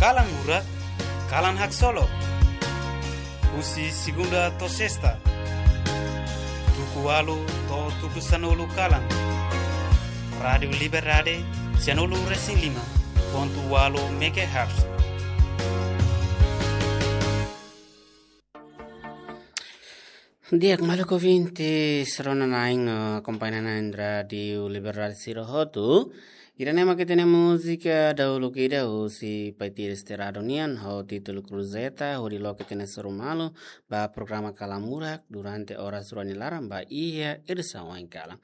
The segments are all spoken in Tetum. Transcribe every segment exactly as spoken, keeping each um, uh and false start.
Kalan Murak, kalan haksolok. Husi segunda to'o sesta, tuku ualu to'o tuku sanulu kalan. Rádiu Liberdade, sanulu resin lima pontu ualu megahertz. Di'ak, maluk ouvinte rona-na'in, eh, akompaña na'in Rádiu Liberdade sira hotu. Ida-ne'e mak ita-nia múzika dahuluk ida husi Pai Tires Terado nian, ho títulu Cruzeta, hodi loke ita-nia sorumalu ba programa Kalan Murak durante oras rua nia laran ba iha edisaun oin kalan.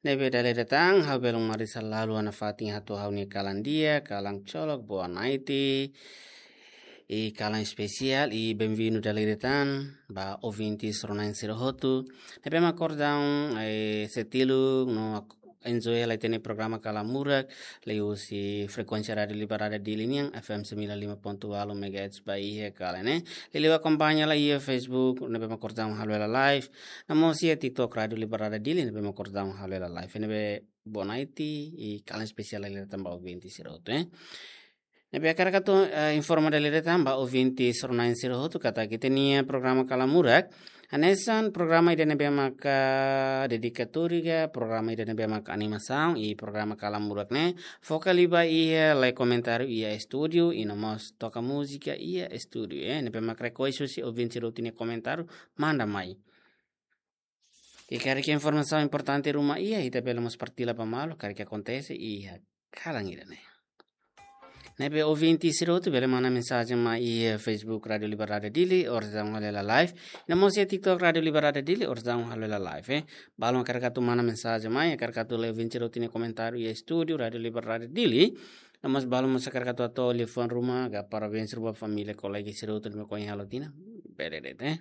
Ne'ebé dala ida tan, ha'u belun marisa lalu ona fatin hato'o ha'u-nia kalan di'ak, kalan cokok, boa noite. I kalan espesiál, i benvindu dala ida tan ba ouvinte rona-na'in sira hotu. Ne'ebé mak kordang, eh, sei tilun no ak-, enjoy hela ita-nia programa Kalan Murak, liuhusi frekuénsia Rádiu Liberdade Dili nian, F M sembilan lima pontu ualu megahertz ba iha kalan ne'e. Liuliu akompaña hela iha Facebook, ne'ebé mak kordang halo hela live. No mós iha TikTok Rádiu Liberdade Dili, ne'ebé mak kordang halo hela live. Ne'ebé boa noite, i kalan espesiál dala ida tan ba ouvinte sira hotu, eh. Ne'ebé hakarak atu, eh, informa dala ida tan ba ouvinte rona-na'in sira hotu katak ita-nia programa Kalan Murak hanesan programa ida ne'ebé maka dedikatóriu ka, programa ida ne'ebé maka animasaun, i programa Kalan Murak ne'e foka liu ba iha lee komentáriu iha estúdiu, i no mós toka múzika iha estúdiu, eh. Ne'ebé maka rekoesa husi ouvinte sira hotu nia komentáriu, manda mai. I karik informasaun importante ruma iha, ita bele mós partilla ba malu, karik akontese iha kalan ida-ne'e. Ne'ebé ouvinte sira hotu bele manda mensajen mai iha Facebook Rádiu Liberdade Dili, oras daudaun halo hela live. No mós iha TikTok Rádiu Liberdade Dili, oras daudaun halo hela live, eh. Balu hakarak atu manda mensajen mai, hakarak atu lee ouvinte sira hotu nia komentáriu iha estúdiu Rádiu Liberdade Dili. No mós balu mós hakarak atu hato'o liafuan ruma, ka parabéns ruma ba família, kolega sira hotu ne'ebé ohin halo tinan, bele de'it, eh.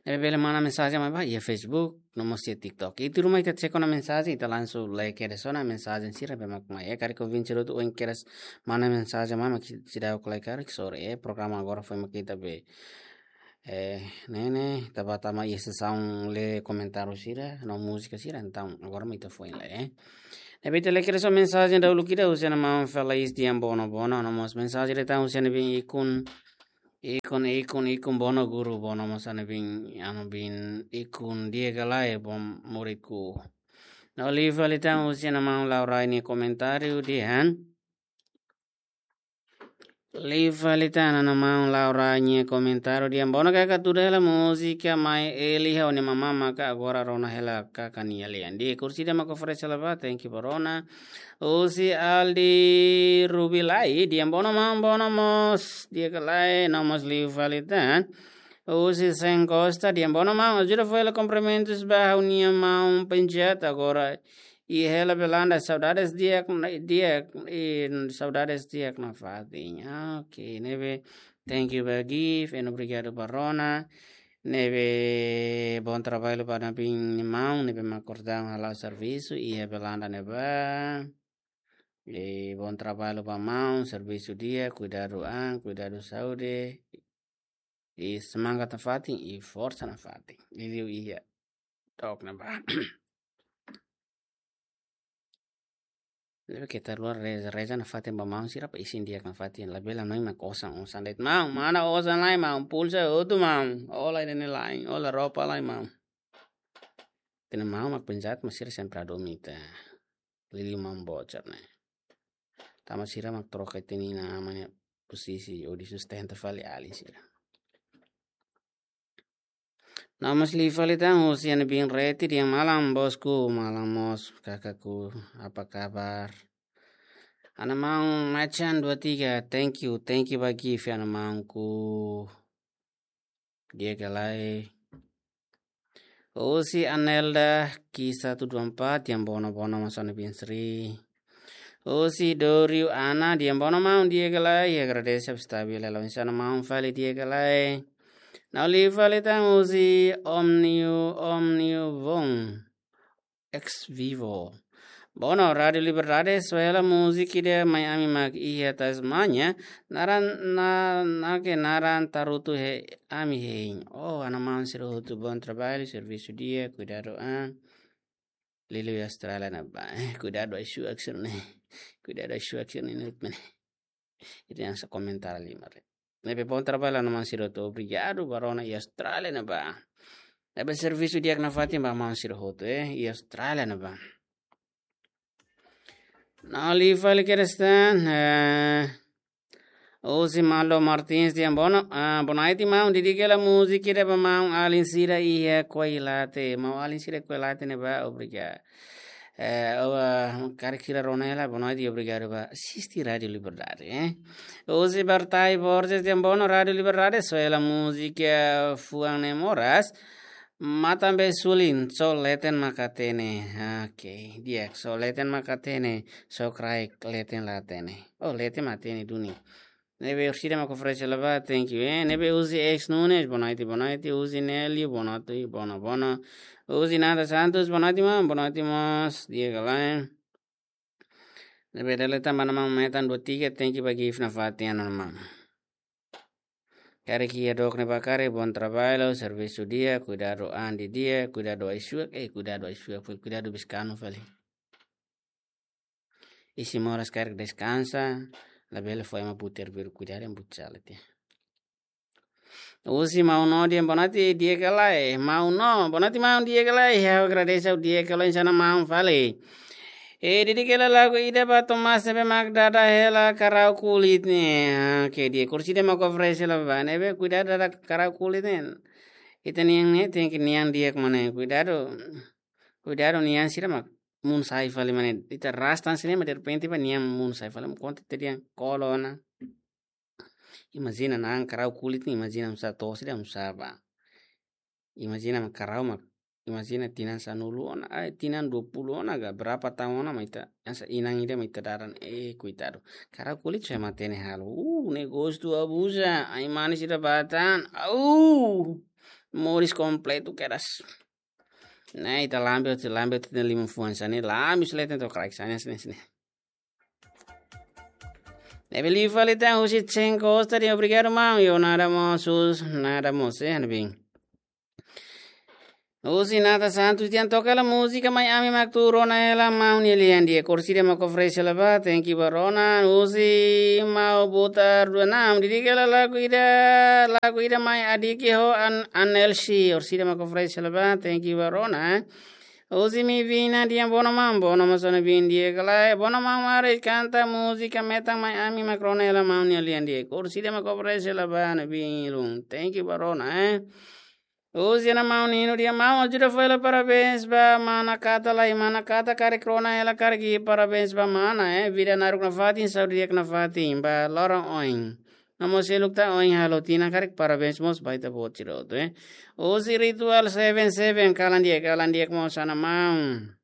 Ne'ebé bele manda mensajen mai ba iha Facebook, no mós iha TikTok. Ita ruma ita cek ona mensajen, ita langsung lee kedas ona mensajen sira ne'ebé mak mai. Eh, karik ouvinte sira hotu oin kedas manda mensajen mai, mak seidauk lee karik, sorry, eh, programa agora foin mak ita be, eh, ne'e ne'e, ita ba tama iha sesaun lee komentáriu sira no múzika sira, entaun agora mak ita foin lee, eh. Ne'ebé ita lee kedas ona mensajen dahuluk ida husi ana maun Felais Diambono, Bono, no mós mensajen ida tan husi ana bin Ikun, Ikun, Ikun, Ikun, Bono guru, Bono mós ana bin, ana bin Ikun, di'ak ka lae, Bono muridku. No liu fali tan husi ana maun Laura nia komentáriu dehan. Liu fali tan ana maun Laura nia komentáriu dehan: Bono kaka tuda hela múzika mai Eli, ha'u-nia mamá maka agora rona hela kaka nia lian. Di'ak, kursi ida mak oferese hela ba, thank you ba rona. Husi Aldi Rubilai, dehan: Bono maun, Bono mós, di'ak ka lae, no mós liu fali tan. Husi Sen Costa, dehan: Bono maun, ajuda fó hela kumprimentus ba ha'u-nia maun Penjat, agora iha hela Belanda, saudades di'ak, di'ak, i saudades di'ak nafatin. Ah, oke, ne'ebé, thank you ba Gift, and obrigadu ba rona. Ne'ebé, bom trabalho ba ana bin nia maun, ne'ebé mak kordang hala'o servisu iha Belanda ne'ebá. E bom trabalho ba maun, servisu di'ak, kuidadu an, kuidadu saúde. I semangat nafatin, i forsa nafatin. Liuliu iha dook ne'ebá. Ne'ebé keta luar reza, reza nafatin ba maun sira, pa isin di'ak nafatin. Labele hanoin mak osan, osan de'it maun, mana osan lai maun, pulsa hotu maun. Hola ida-ne'e lai, hola roupa lai maun. Ita-nia maun mak Penjat, mas sira sempre hadomi ita. Liuliu maun Bocar ne'e. Tanba sira mak troka ita-nia inan-aman nia posisi, hodi sustenta fali alin sira. No mós liu fali tan husi ana bin Reti, dehan: Malam bosku, malam mós kakakku, apa kabar? Ana maun Macan dua tiga, thank you, thank you ba Gift, ana maunku. Di'ak ka lae. Husi Anelda Ki satu dua empat, dehan: Bono, Bono mós ana bin Sri. Husi Doriu Ana, dehan: Bono maun, di'ak ka lae, i agradese ap stabil hela, oinsá ana maun fali, di'ak ka lae. No liu fali tan husi Omniu, Omniu Von. Ex Vivo. Bono, Rádiu Liberdade, soe hela múzika ida mai ami mak iha Tasmania, naran na, nake naran Tarutu he ami hein. Oh, ana maun sira hotu, bom trabalho, servisu di'ak, kuidadu an. Liuliu Austrália ne'ebá, eh, kuidadu ai-suak sira-ne'e. Kuidadu ai-suak sira-ne'e, ne'e mene. Ita hanesan komentar liu mak. Ne'ebé bom trabalho, maun sira hotu. Obrigadu ba rona iha Austrália ne'ebá. Ne'ebé servisu di'ak nafatin ba maun sira hotu, eh, iha Austrália ne'ebá. Ne'e liu fali kedas tan, eh, husi Malo Martins dehan boa no-, ah, boa noite, maun. Dedika hela múzika ida ba maun-alin sira iha Koilate. Maun-alin sira Koilate ne'ebá, obrigadu. Eh, oh, ah, karik sira rona hela, boa noite, obrigadu ba asiste Rádio Liberdade, eh. Husi Bartai Borges dehan boa no Rádio Liberdade, soe hela múzika fuan ne'e moras. Matan be sulin, só leten mak hatene. Oke, di'ak, só leten mak hatene, só kraik leten la hatene. Oh, leten mak hatene duni. Ne'ebé orsida mak oferese hela ba, thank you, eh. Ne'ebé husi Ex Nunes, boa noite, boa noite. Husi Nelio, boa noite, boa no, boa no. Husi Nada Santos, boa noite, maun, boa noite, mós, di'ak ka lae. Ne'ebé dala ida tan ba maun Metan dua tiga, thank you ba gift nafatin, maun. Karik iha dook ne'ebá karik, bom trabalho, servisu di'ak, kuidadu an didi'ak, kuidadu ai-suak, eh, kuidadu ai-suak, kuidadu biskanu fali. Isin moras karik deskansa, labele fó ema buter biru kuidadu ema butsala tiha. Husi Maun No dehan boa noite, di'ak ka lae, Maun No, boa noite, maun, di'ak ka lae, ha'u agradese, di'ak ka lae, hanesan maun fali. Eh, dedika hela lagu ida ba Tomás ne'ebé mak dada hela karau kulit ne'e. Ah, oke, di'ak, orsida mak oferese hela ba, ne'ebé kuidadu dada karau kulit ne'e. Ita-nian ne'e, tenke nian di'ak mak ne'e, kuidadu. Kuidadu nian sira mak mun sai fali mak ne'e. Ita rastan sira ne'e mak derrepente ba nian mun sai fali, konta ita-nian kolo ona. Imajina na'an karau kulit ne'e, imajina oinsá, to'o sira oinsá ba. Imajina mak karau mak, imajina tinan sanulu ona, ai, tinan dua puluh ona ka, berapa tahun ona mak ita, hanesan inan ida mak ita dada ne'e, eh, koitadu. Karau kulit sai matenek halo. Uh, ne'e gostu abuza, ai-manis ida batan. Au! Moris kompletu kedas. Ne'e ita lambe, ita lambe, ita lima fuan sira ne'e, lambe sira leten to'o kraik sira ne'e, sira ne'e, sira ne'e. Ne'ebé liu fali tan husi Chen Costa dehan obrigadu, maun. Yo, nada mós, sus, nada mós, eh, ne'ebé. Husi Nata Santos dehan toka hela múzika Mai Ami Mak Tuur ona hela, maun nia lian di'ak, orsida mak oferese hela ba, thank you ba rona. Husi Mau Butar dua enam, dedika hela lagu ida, lagu ida Mai Adiki ho An-, Anelsi, orsida mak oferese hela ba, thank you ba rona. Husi Mivina dehan boa no maun, boa no maun, hanesan ne'ebé di'ak ka lae, boa no maun, mari kanta múzika Metan Mai Ami Mak Rona hela, maun nia lian di'ak, orsida mak oferese hela ba ne'ebé uluk. Thank you ba rona, eh. Husi Ana Maun Nino dehan maun, ajuda fó hela parabéns ba mana Kata lai, mana Kata karik rona hela karik parabéns ba mana, eh. Vida naruk nafatin, saúde di'ak nafatin, ba loron oin. No mós seluk tan oin halo tinan karik parabéns mós ba ita-boot sira hotu, eh. Husi Ritual seven seven, kalan di'ak, kalan di'ak mós Ana Maun.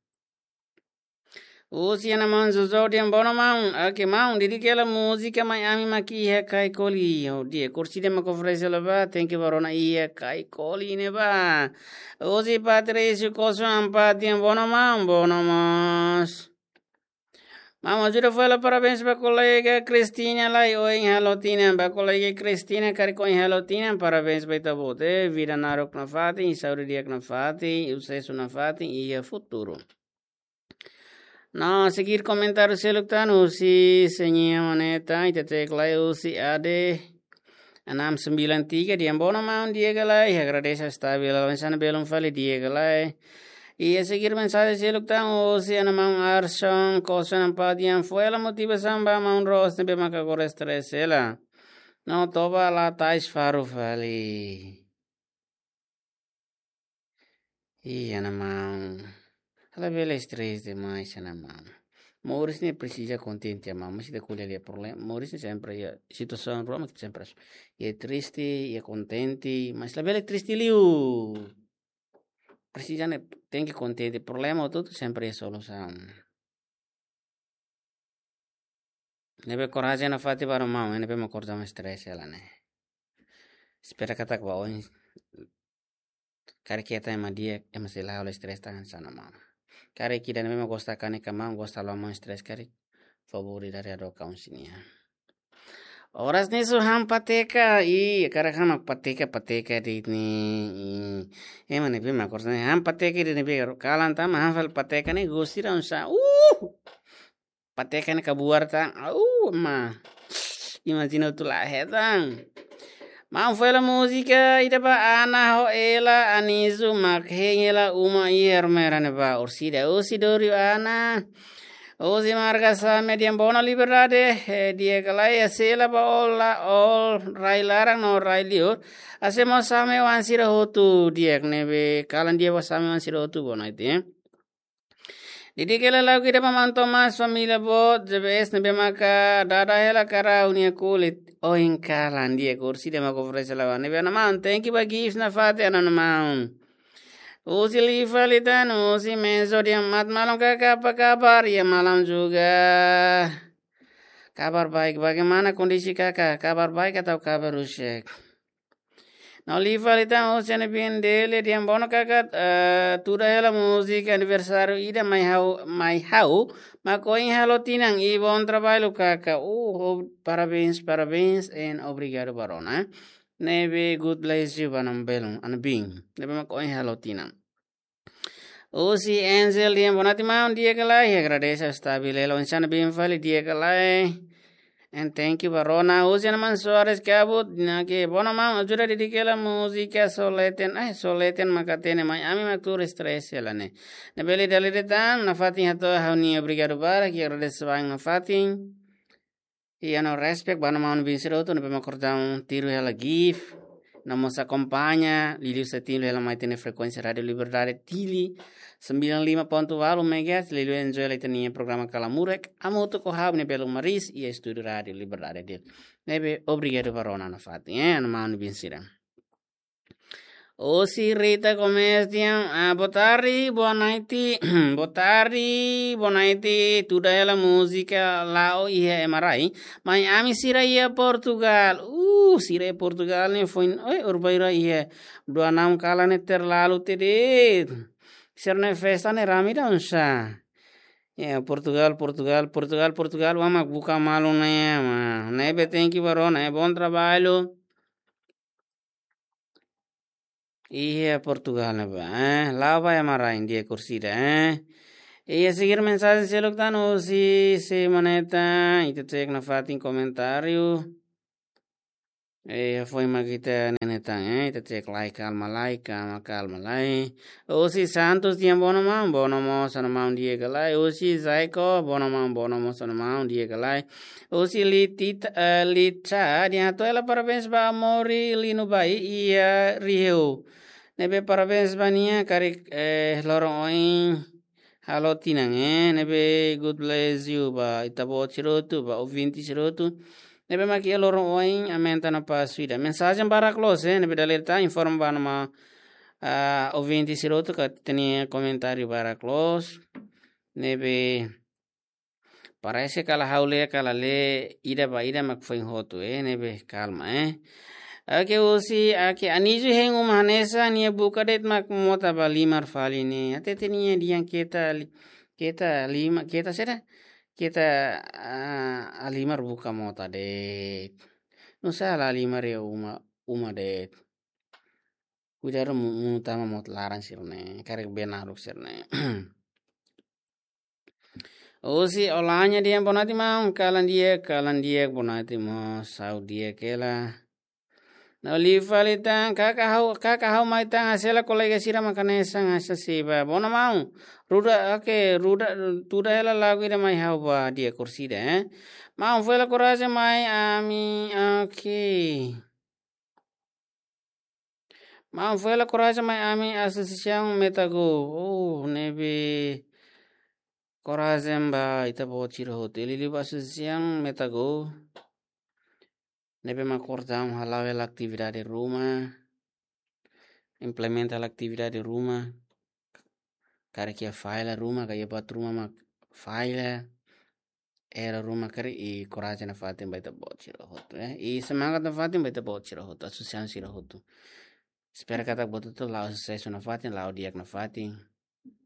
Husi Ana Maun Jojo dehan boa no maun, oke maun, dedika hela múzika Mai Ami Mak Iha Kaikoli, oh di'ak, orsida mak oferese hela ba, thank you ba rona, Iha Kaikoli ne'ebá. Husi Patrício Costa Ampati dehan boa no maun, boa no mós. Maun, ajuda fó hela parabéns ba kolega Cristina lai, oin halo tinan, ba kolega Cristina karik oin halo tinan, parabéns ba ita-boot, eh, vida naruk nafatin, saúde di'ak nafatin, susesu nafatin iha futuru. No, seguir komentáriu seluk tan husi Señor Moneta, ita tau lai husi A D enam sembilan tiga dehan boa no maun, di'ak ka lae, agradese stabil, hanesan belun fali, di'ak ka lae. I seguir mensajen seluk tan husi Ana Maun Arson Costa Ampati dehan fó hela motivasaun ba maun Ros ne'ebé mak agora stress hela. No, toba la tais faru fali. Ih, Ana Maun. Labele stress demais, Ana Maun. Moris ne'e presiza kontente, Ana Maun. Mas ita ko'alia problema. Moris ne'e sempre iha situasaun ruma, sempre iha triste, iha kontente, mas labele triste liu. Presiza ne'e, tenke kontente. Problema hotu-hotu sempre iha solusaun. Ne'ebé korajen nafatin ba rona maun, ne'ebé mak korja mai stress hela ne'e. Espera katak ba oin. Karik ita ema di'ak, ema sei la halo stress tan hanesan maun. Karik ida ne'ebé mak gosta kanek ka maun, gosta la maun stress karik. Favór ida dari ado kaun sini ya. Oras ne'e só han pateka, i, karik han mak pateka, pateka de'it ne'e, i. Ema ne'ebé mak korja ne'e, han pateka de'it ne'ebé, kalan tan mak han fali pateka ne'e, gosi raun sa, uh! Pateka ne'e kabuar tan, uh, ma. Imajina hotu la hetan. Maun, foin hela múzika ida ba Ana ho Ela Anisu mak hein hela uma iha Ermera ne'ebá. Orsida, osi dori Ana. Osi marka same di'ak, bona Liberdade, eh, di'ak ka lae, sela ba ola, ol, rai laran no rai liur. Hanesan mós same oan sira hotu di'ak ne'ebé, kalan di'ak ba same oan sira hotu, bonaiti, eh. Dedika hela lagu ida ba maun Thomas, família boot, J B S ne'ebé maka dada hela karau nia kulit. Ohin kalan di'ak, orsida mak oferese lawan. Ne'ebé ana maun, thank you ba gift nafatin, ana maun. Osi liu fali tan, osi mensajen di'ak, mat malam kaka, apa kabar? Ya, malam juga. Kabar baik, bagaimana kondisi kaka? Kabar baik atau kabar rusak? No liu fali tan, osi ana bin Dele di'ak, bona kaka, eh, tuda hela múzika aniversáriu ida mai ha'u, mai ha'u, mak ohin halo tinan, i bom trabalho kaka. Uh, oh, parabéns, parabéns, and obrigadu ba rona. Ne'ebé God bless you ba ana belun, ana bin. Ne'ebé mak ohin halo tinan. Osi Angel di'ak, bonaiti maun, di'ak ka lae, agradese stabil hela, oinsá ana bin fali, di'ak ka lae. And thank you ba rona. Osi ana maun Soares Kabut, nake, bona maun, ajuda dedika hela múzika Soleten, eh, Soleten mak hatene mai ami mak tuur stress hela ne'e. Ne'ebé lee dala ida tan, nafatin hato'o ha'u-nia obrigadu barak, i agradese barak nafatin. I ha'u-nia respect ba ana maun bin sira hotu ne'ebé mak kordang tiru hela gift. No mós akompaña, liuliu sei tiru hela mai ita-nia frekuénsia Rádio Liberdade Dili, sembilan lima ponto walu megahertz, liuliu enjoy hela ita-nia programa Kalamurek, hamutuk ho ha'u-nia belun Maris, iha estúdiu Rádio Liberdade Dili. Ne'ebé obrigadu ba rona nafatin, eh, ana maun bin sira. Osi Rita Gomes di'ak, ah, boa tarde, boa noite, boa tarde, boa noite, tuda hela múzika la'o iha ema rai, mai ami sira iha Portugal. Uh, sira iha Portugal ne'e foin, oi, urbaira iha dua enam kalan ne'e terlalu tede. Sira-nia festa ne'e rame ida oinsá. Ya, Portugal, Portugal, Portugal, Portugal, oan mak buka malu ne'e, ma. Ne'ebé thank you ba rona, eh, bom trabalho. Iha Portugal ne'ebá, eh, la'o ba ema rai, di'ak orsida, eh. Iha seguir mensajen seluk tan, osi se maneta, ita cek nafatin komentáriu. Eh, foin mak ita ne'e tan, eh, ita cek lai, kalma lai, kalma, kalma lai. Osi Santos di'ak, bona maun, bona mós ana maun, di'ak ka lae. Osi Zaiko, bona maun, bona mós ana maun, di'ak ka lae. Osi Litita, eh, Lita, di'ak, hato'o hela parabéns ba Amori Lino Bai iha Riheu. Ne'ebé parabéns ba nia, karik, eh, loron oin halo tinan, eh, ne'ebé God bless you ba ita-boot sira hotu, ba ouvinte sira hotu. Ne'ebé mak iha loron oin aumenta no pasu ida. Mensajen barak loos, eh, ne'ebé dala ida tan, informa ba ana maun, ah, ouvinte sira hotu katak ita-nia komentáriu barak loos. Ne'ebé parese katak ha'u lee, katak lee ida ba ida mak foin hotu, eh, ne'ebé kalma, eh. Oke, osi, oke, Anísio hein uma hanesan nia buka de'it mak mota ba halimar fali ne'e. Hatete nia dehan keta li-, keta lima, keta saida? Keta, ah, halimar buka mota de'it. Nusá la halimar iha uma, uma de'it. Kuidadu mu-, monu tama mota laran sira-ne'e, karik bee naruk sira-ne'e. Osi Olanya di'ak, boa noite maun, kalan di'ak, kalan di'ak, boa noite mós, ha'u di'ak hela. No liu fali tan, kaka ha'u, kaka ha'u mai tan, hanesan kolega sira mak hanesan hanesan seba. Bona maun, ruda, oke, ruda, tuda hela lagu ida mai ha'u ba, di'ak orsida, eh. Maun, foin hela korajen mai ami, oke. Maun, foin hela korajen mai ami asosiasaun Metagol. Oh, ne'ebé korajen ba ita-boot sira hotu. Liuliu ba asosiasaun Metagol. Ne'ebé mak kordang hala'o hela atividade ruma. Implementa hela atividade ruma. Karik iha falla ruma, ka iha buat ruma mak falla. Erra ruma karik, i korajen nafatin ba ita-boot sira hotu, eh. I semangat nafatin ba ita-boot sira hotu, asosiasaun sira hotu. Espera katak buat hotu la'o susesu nafatin, la'o di'ak nafatin.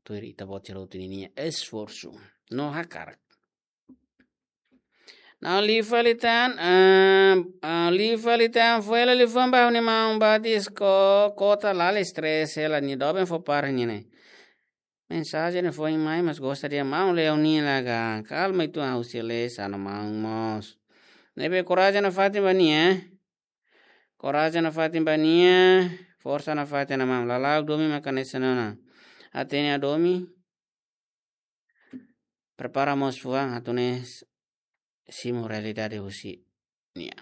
Tuir ita-boot sira hotu ninia esforsu no hakarak. No liu fali tan, ah, ah, liu fali tan, foin hela liafuan ba ha'u-nia maun Batis ko-, kota, la'ós stress hela, nia doben fó para nia ne'e. Mensajen ne'e foin mai, mas gosta di'ak maun, lee ha'u-nia lagan. Kalma, itu ha'u sei lee, sana maun mós. Ne'ebé korajen nafatin ba nia. Korajen nafatin ba nia. Forsa nafatin ona maun. Lala'ok domin maka hanesan ne'e ona. Hatene hadomi. Prepara mós fuan atu nune'e simu realidade husi nia.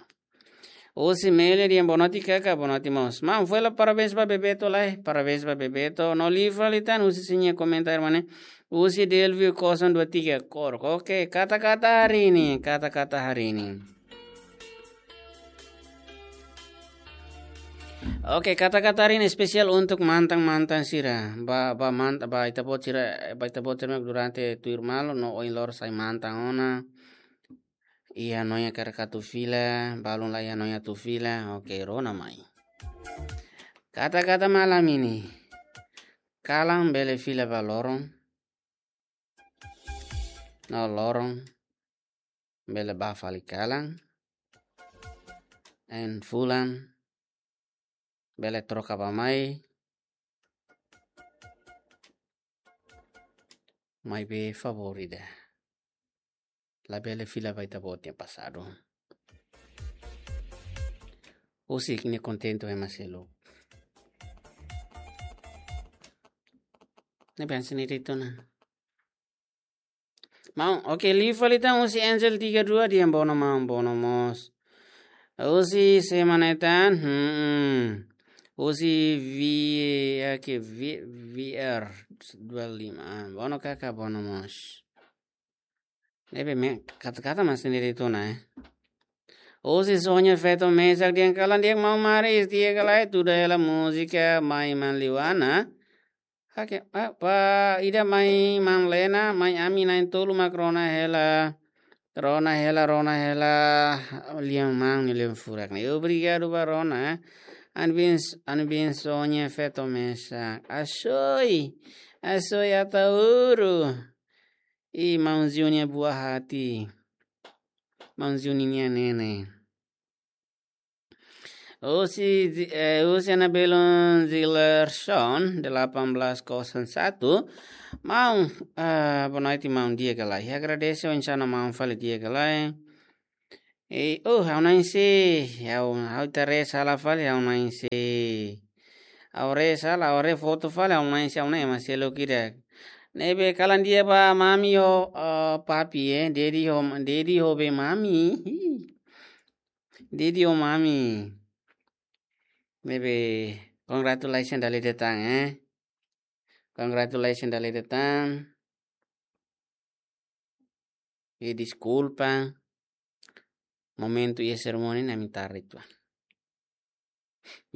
Husi Mele dehan boa noite kaka, boa noite mós. Maun, fó hela parabéns ba Bebeto lai, parabéns ba Bebeto. No liu fali tan husi sira-nia komentáriu mak ne'e. Husi Delvio kosong dua tiga Korko. Oke, kata-kata hari ini, kata-kata hari ini. Oke, kata-kata hari ini espesiál untuk mantan-mantan sira. Ba, ba mant-, ba ita-boot sira, ba ita-boot sira mak durante tuir malu no ohin loron sai mantan ona. Iha hanoin hakarak atu fila, balun la iha hanoin atu fila. Oke, rona mai. Kata-kata malam ini. Kalan bele fila ba loron. No loron bele bá fali kalan. No fulan bele troka ba mai. Maibé favór ida. Labele fila ba ita-boot nia pasadu. Husik ne'e kontente ema seluk. Ne'ebé hanesan ne'e de'it ona. Maun, oke, liu fali tan husi Angel tiga dua dehan bono maun, bono mós. Husi semana tan, hmm. Husi V, oke, V, V R dua lima. Ah, bono kaka, bono mós. Ne'ebé mak, kata-kata mak hanesan ne'e de'it ona, eh. Husi Sonia Feto Mesak dehan kalan di'ak maun Maris, di'ak ka lae, tuda hela múzika Mai Manliwana. Oke, ah, ba ida Mai Manlena, mai ami na'in-tolu mak rona hela. Rona hela, rona hela, lian maun nia lian furak ne'e. Obrigadu ba rona, eh. Anbin, anbin Sonia Feto Mesak. Asoy, asoy Ataúro. I maun Ziu nia buah hati. Maun Ziu nia nene. Husi, eh, husi Anabelon Zilerson, delapan belas kosong satu. Maun, eh, boa noite, maun, di'ak ka lae. Agradese oinsá ona maun fali, di'ak ka lae. Eh, oh, ha'u na'in-sei, ha'u, ha'u ita ree sala fali, ha'u na'in-sei. Ha'u ree sala, ha'u ree foto fali, ha'u na'in-sei, ha'u na'in ema seluk ida. Ne'ebé kalan di'ak ba mami ho, eh, papi, eh, daddy ho, daddy ho be mami. Daddy ho mami. Ne'ebé congratulations dala ida tan, eh. Congratulations dala ida tan. I deskulpa, momentu iha serimónia ne'e ami tarde uitoan.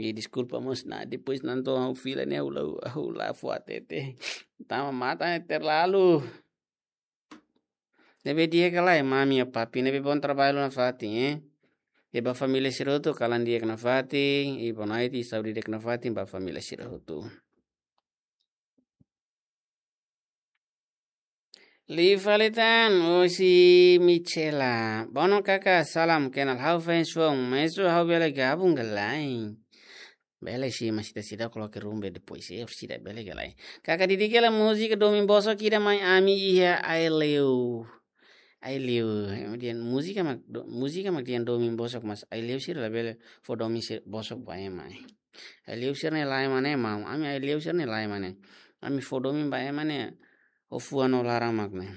I deskulpa mós ona, depois nonton ha'u fila ne'e ha'u la, ha'u la fó hatete. Tama matan ne'e terlalu. Ne'ebé di'ak ka lae, mami ho papi, ne'ebé bom trabalho nafatin, eh. I ba família sira hotu, kalan di'ak nafatin, i boa noite, i saúde di'ak nafatin ba família sira hotu. Liu fali tan, husi Michela. Bono kaka, salam kenal, ha'u fans foun, mesak ha'u bele gabung ka lae. Bele sim, mas ita seidauk coloca rumbe depois, eh, seidauk bele ka lae. Kaka, didik hela múzika domin bosok ida mai ami iha Aileu. Aileu, eh, dehan múzika mak do-, múzika mak dehan domin bosok, mas Aileu sira labele fó domin se-, bosok ba ema, eh. Aileu sira ne'e lae mak ne'e maun. Ami Aileu sira ne'e lae mak ne'e. Ami fó domin ba ema ne'e, ho fuan no laran mak ne'e.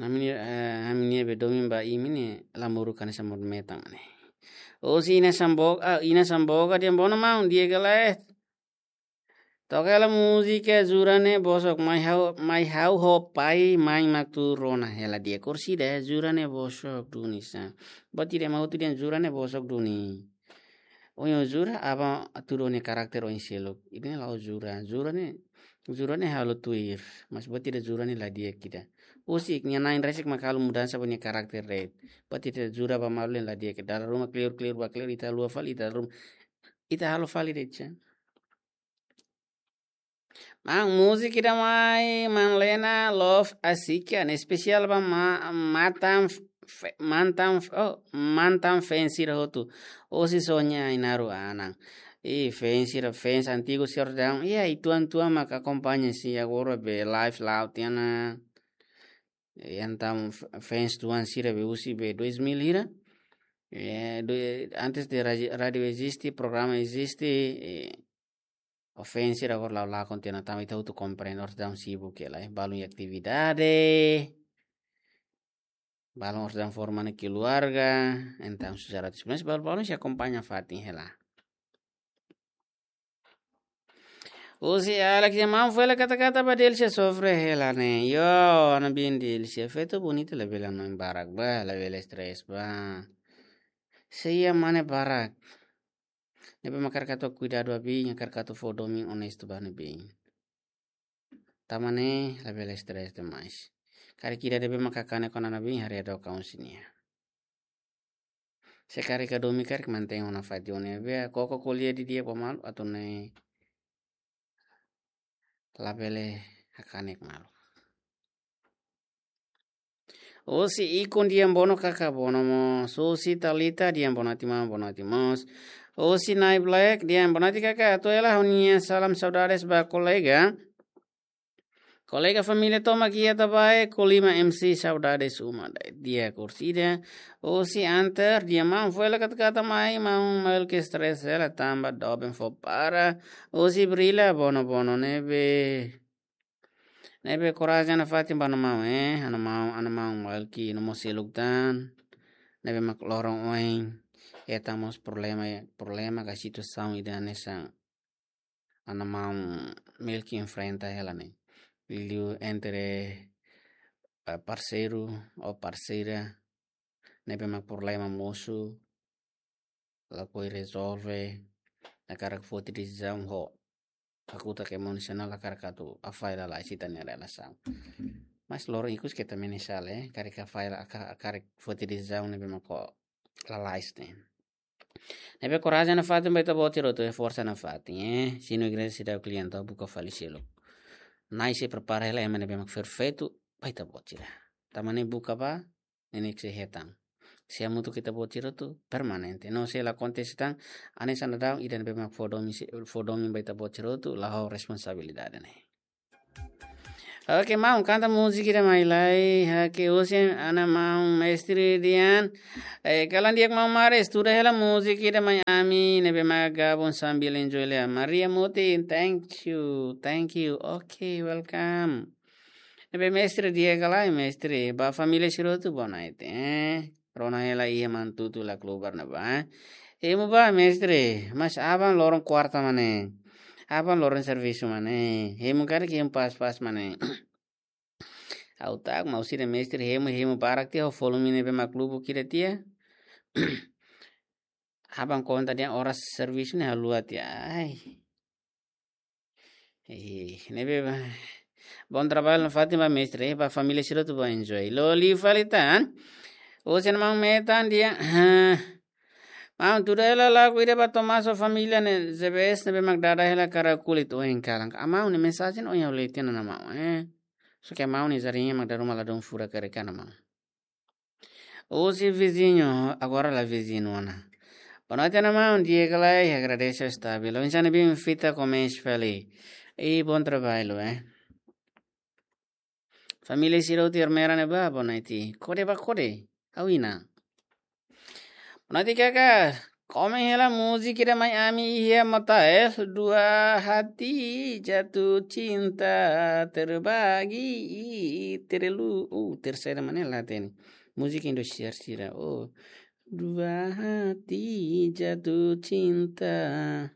Ami ne'e, eh, ami ne'ebé domin ba imi ne'e la moru hanesan modo metan mak ne'e. Husi Ina Samboga, ah, Ina Samboga dehan bono maun, di'ak ka lae. Toka hela múzika jura ne'e bosok, mai ha'u, mai ha'u ho pai, mai mak tuur rona hela di'ak. Orsida, jura ne'e bosok duni sa. Buat ida ema hotu dehan jura ne'e bosok duni. Ohin jura, aban tuur nia karakter oin seluk. Ida-ne'e la'o jura. Jura ne'e, jura ne'e halo tuir. Mas buat ida jura ne'e la di'ak ida. Husik, nia na'in resik mak halo mudansa ba nia karakter de'it. Buat ida jura ba malu la di'ak ida. Dala ruma kleur, kleur ba kleur, ita haluha fali, ita ruma. Ita halo fali de'it sa. Maun, múzika ida mai Manlena, Love Asik, ne'e espesiál ba ma-, matan f-, fe-, mantan f-, oh, mantan fans sira hotu. Husi Sonia Ainaro Anan. I fans sira, fans antigu sira daudaun. Iha uitoan-uitoan mak akompaña sira agora be live la'o tiha ona. E entaun f-, fans tuan sira be husi be dois mil hira. E, do, antes de rádio, rádio eziste, programa eziste, e, o fans sira agora la'o lakon tiha ona, tanba ita hotu komprende oras daudaun sibuk hela, e, balun iha atividade. Balun oras daudaun forma ona keluarga, entaun susar atu, mas balun-balun sei akompaña fatin hela. Husi Alex, nia maun foin hela kata-kata ba Delcia sofre hela ne'e. Yo, ana biin Delcia, feto bonita labele hanoin barak ba, labele stress ba. Sei iha mane barak. Ne'ebé mak hakarak atu kuidadu ba biin, hakarak atu fó domin onestu ba nia biin. Tanba ne'e labele stress demais. Karik ida ne'ebé mak hakanek ona nia biin, haree dook husi nia. Se karik hadomi karik mantein ona fatin, ne'ebé koko ko'alia didi'ak ba malu atu nune'e labele hakanek malu. Husi Ikun, di'ak, bonoite kaka, bonoite mós. Husi Talita, di'ak, bonoite maun, bonoite mós. Husi Nai Black, di'ak, bonoite kaka, atu hela ha'u-nia salam saudades ba kolega. Kolega família tomak iha Tabae, Kolima M C, saudades uma, di'ak, kurtida. Husi Anter, di'ak, maun foin hela kata-kata mai, maun Mael ke stress hela tanba doben fó para. Husi Brila, bonoite, bonoite ne'ebé. Ne'ebé korajen nafatin ba ha'u-nia maun, eh, ha'u-nia maun, ha'u-nia maun Mael ke no mós seluk tan. Ne'ebé mak loron oin hetan mós problema, problema ka situasaun ida hanesan ha'u-nia maun Mael ke enfrenta hela ne'e. Liuliu entre, eh, parseiru ou parseira ne'ebé mak problema mosu, lakohi rezolve, hakarak foti desizaun ho hakutak emosionál, hakarak atu hafahe lalais ita-nia relasaun. Mas loron ikus keta menyesal, eh, karik hafahe la-, haka-, hakarak foti desizaun ne'ebé mak lalais ne'e. Ne'ebé korajen nafatin ba ita-boot sira hotu, eh, forsa nafatin, eh. Sinu igreja seidauk kliente, buka fali seluk. Nai sei prepara hela ema ne'ebé mak perfeitu ba ita-boot sira. Tanba ne'e buka ba, ne'e ne'e ke sei hetan. Se hamutuk ita-boot sira hotu permanente. No se la akontese tan, hanesan daudaun ida ne'ebé mak fó domin se, fó domin ba ita-boot sira hotu, la ho responsabilidade ne'e. Oke, maun, kanta múzika ida mai lai, ha'u-nia husi ha'u-nia maun mestre Dian. Eh, kalan di'ak maun Mare, estuda hela múzika ida mai ami, ne'ebé mak gabung sambil enjoy lai. Maria Muti, thank you, thank you. Oke, welcome. Ne'ebé mestre di'ak ka lae, mestre, ba família sira hotu bonoite, eh. Rona hela iha mantutu la klubar ne'ebá, eh. Hemu ba, mestre, mas aban loron kuarta mak ne'e. Aban loron servisu mak ne'e. Hemu karik hemu pas-pas mak ne'e. Ha'u tak mau sira mestre hemu, hemu barak tiha, volume ne'ebé mak lubuk ida tiha. Aban konta dehan oras servisu ne'e haluha tiha. Ai. Eh, ne'ebé ba. Bom trabalho nafatin ba mestre, eh, ba família sira hotu ba enjoy. Loli fali tan. Husi ha'u-nia maun Metan di'ak, ah. Maun, tuda hela lagu ida ba Tomás ho família ne'e, Z B S ne'ebé mak dada hela kara kulit oin kalan. Ha'u-nia maun nia mensajen oin ha'u lee tiha ona maun, eh. Só ke ha'u-nia maun nia jarinha mak dala ruma ladún furak karik ha'u-nia maun. Husi viziñu, agora la viziñu ona. Bonoite ha'u-nia maun, di'ak ka lae, agradese stabil. Oinsá ne'e biin fita komesa fali. I bom trabalho, eh. Família sira hotu iha Ermera ne'ebá, bonoite. Kode ba kode. Ha'u iha ona. Bonoite kaka. Komen hela múzika ida mai ami iha Motael, Dua Hati Jatuh Cinta Terbagi Terlu-, uh, terseira mak ne'e la hatene. Múzika Indosiar sira. Oh, Dua Hati Jatuh Cinta.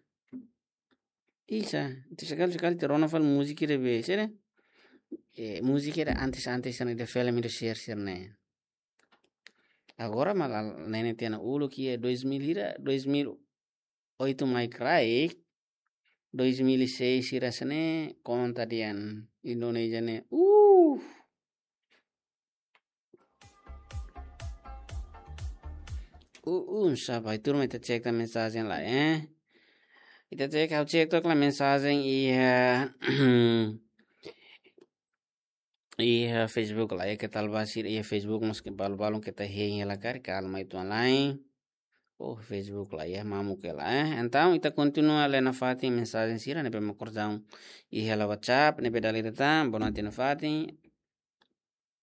Isa, itu sekali-sekali terona fali múzika ida be, sira. Eh, múzika ida antes-antes ne'e ida filme Indosiar sira ne'e. Agora mak la, ne'e ne'e tiha ona, uluk iha dois mil hira, dois mil oito mai kraik, dois mil e seis sira hanesan ne'e, konta dehan Indonézia ne'e. Uh! Uh, uh, sabar, turma, ita cek tan mensajen lai, eh. Ita cek, ha'u cek took lai mensajen iha, iha Facebook lai, eh, keta la ba sira iha Facebook, maske balu-balu keta hein hela karik, kalma itu lai. Oh, Facebook lai, eh, mamuk hela, eh. Entaun, ita kontinua lee nafatin mensajen sira ne'ebé mak kordau iha hela WhatsApp, ne'ebé dala ida tan, bonoite nafatin.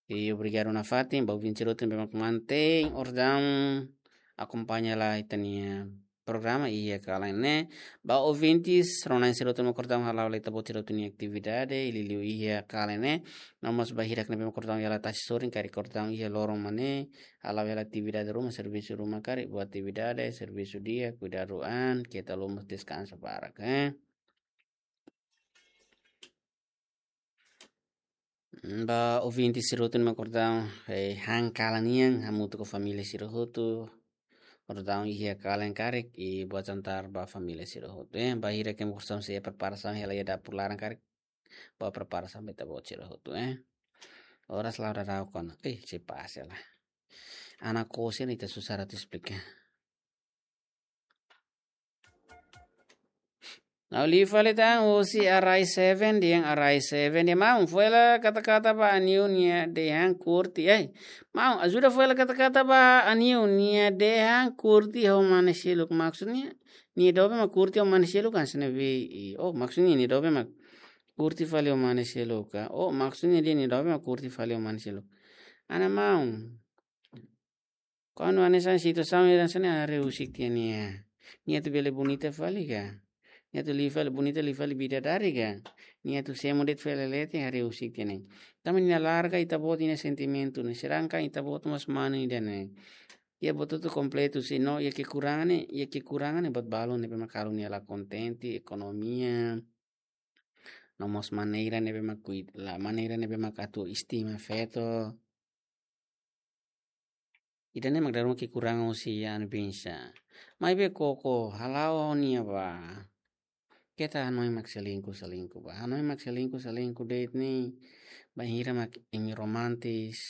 I obrigadu nafatin ba ouvinte sira hotu ne'ebé mak mantein ordaun akompaña hela ita-nia programa iha kalan ne'e. Ba ouvinte sira hotu ne'ebé mak ordaun hala'o hela ita-boot sira hotu nia atividade, liuliu iha kalan ne'e. No mós ba hirak ne'ebé mak ordaun iha tasi sorin, karik ordaun iha loron mak ne'e, hala'o hela atividade ruma, servisu ruma karik, boa atividade, servisu di'ak, kuidadu an, keta haluha mós deskansa barak, eh. Mm, ba ouvinte sira hotu ne'ebé mak ordaun, eh, han kalan nian, hamutuk ho família sira hotu. Ordaun iha kalan karik, i boa jantar ba família sira hotu, eh. Ba hirak ne'ebé mak ordaun sei preparasaun hela iha dapur laran karik, boa preparasaun ba ita-boot sira hotu, eh. Oras la'o daudaun ona. Eh, se pasa lah. Ana kose ne'e ita susar atu esplika. Ha'u liu fali tan husi Arai Seven, dehan Arai Seven, dehan maun, fó hela kata-kata ba Aniu nia dehan kurti. Ai, maun, ajuda fó hela kata-kata ba Aniu nia dehan kurti ho mane seluk. Maksudnya, nia doben mak kurti ho mane seluk kan sene be. I, oh, maksudnya nia doben mak kurti fali ho mane seluk ka. Oh, maksudnya dehan nia doben mak kurti fali ho mane seluk. Ana maun. Kuandu hanesan situasaun ida hanesan ne'e haree husik tiha nia. Nia atu bele bonita fali ka? Nia atu liu fali bonita, liu fali bidadari ka? Nia atu semo de'it fali leten, haree husik tiha nia. Tanba nia larga ita-boot nia sentimentu ne'e, sedangkan ita-boot mós manu ida ne'e. Iha buat hotu kompletu, se no iha kekurangan ne'e, iha kekurangan ne'e buat balun ne'ebé mak halo nia la kontente, ekonomia. No mós maneira ne'ebé mak kuida, la maneira ne'ebé mak atu estima feto. Ida-ne'e mak dala ruma kekurangan husi Anu Bensa. Maibé koko hala'o nia ba. Keta hanoin mak selingkuh, selingkuh ba. Hanoin mak selingkuh, selingkuh de'it ne'e. Bainhira mak imi romantis.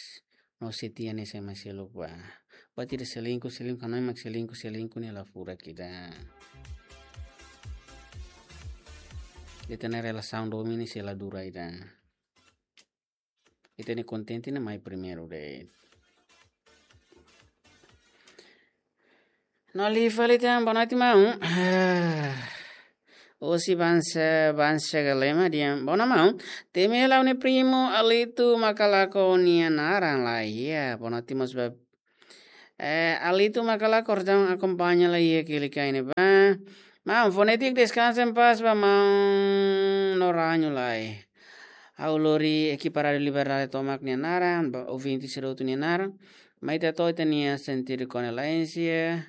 No setia ne'e sai mak seluk ba. Ba tidak selingkuh, selingkuh, hanoin mak selingkuh, selingkuh ne'e la furak ida. Ita-nia relasaun domin ne'e sei la dura ida. Ita-nia kontente ne'e mai primeiru de'it. No liu fali tan, boa noite maun. Husi Bansa, Bansa Galema dehan, boa noite maun. Temi hela ha'u-nia primu Alitu Makalako nia naran lae. Iya, boa noite mós ba Eh, Alitu Makalako ordaun akompaña hela iha Kilikai ne'ebá. Maun, fonétika deskansa en paz ba maun no rañu lai. Ha'u lori ekipa Rádiu Liberdade tomak nia naran, ba ouvinte sira hotu nia naran. Mai ita to'o ita-nia sentidu kondolénsia.